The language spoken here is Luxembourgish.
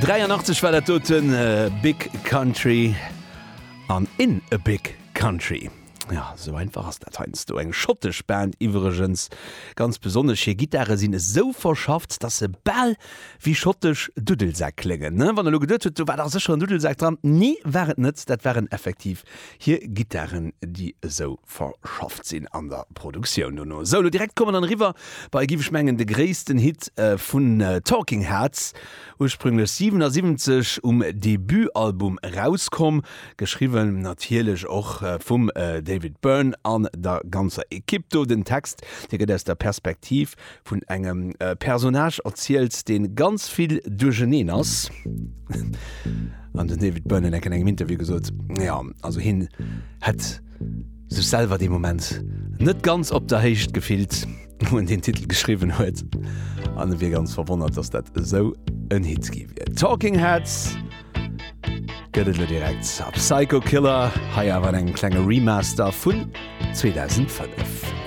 83 war dat doten, Big Country an In a Big Country. Jo, esou einfach ass dat heiansdo. Eng schottesch Band iwwregens. Ganz besonnesch hir Gittare sinn esou verschafft, dass se bal wéi schottesch Duddelsäck kléngen. Wann der elo geduet hutt, do war dach sécher en Duddelsak dran, nee, war et net. Dat waren effektiv hir Gittaren, déi esou verschafft sinn an der Produktioun dono. Sou, elo direkt komme dann eriwwer bei, giff ech mengen, de gréissten Hit vun Talking Heads, ursprünglech 77 um Debutalbum erauskomm, geschriwwen natierlech och vum David Byrne an der ganzer Ekipp do. Den Text, dee gëtt aus der Perspektiv vun engem Personnage erzielt, dee ganz vill duercheneen ass. An den David Byrne huet enk an engem Interview gesot, jo, also hien hätt sech selwer dee Moment net ganz op der Héicht gefillt, wou en deen Titel geschriwwen huet, an e wier ganz verwonnert, datt dat esou en Hit gi wier. Talking Heads gëtt et elo direkt a Psycho Killer, hei awer an engem klenge Remaster vun 2005.